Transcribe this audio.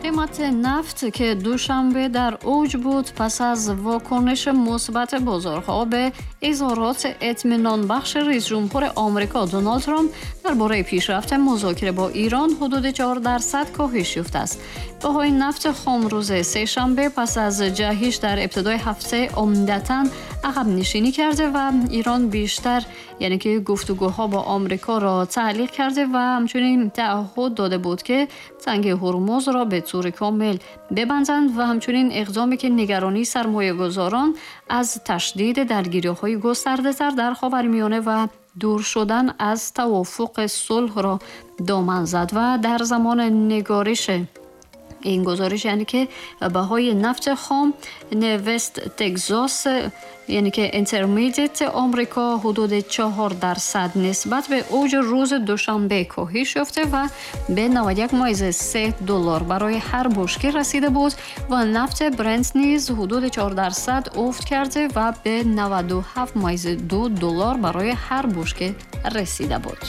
قیمت نفت که دوشنبه در اوج بود، پس از واکنش مثبت بازارها به اظهارات اطمینان بخش رئیس جمهور آمریکا دونالد ترامپ درباره پیشرفت مذاکره با ایران، حدود 4% کاهش یافته است. بهای نفت خام روز سه‌شنبه پس از جهش در ابتدای هفته عمدتاً عقب نشینی کرده و ایران بیشتر، یعنی که گفتگوها با آمریکا را تعلیق کرده و همچنین تعهد داده بود که تنگه هرمز را به طور کامل ببندند و همچنین اقدامی که نگرانی سرمایه گذاران از تشدید درگیری های گسترده تر در خاورمیانه و دور شدن از توافق صلح را دامن زد. و در زمان نگارش این گزارش، یعنی که بهای نفت خام وست تگزاس، یعنی که Intermediate آمریکا، حدود 4% نسبت به اوج روز دوشنبه کاهش یافته و به 91.3 دلار برای هر بشکه رسیده بود و نفت برنت نیز حدود 4% افت کرده و به 97.2 دلار برای هر بشکه رسیده بود.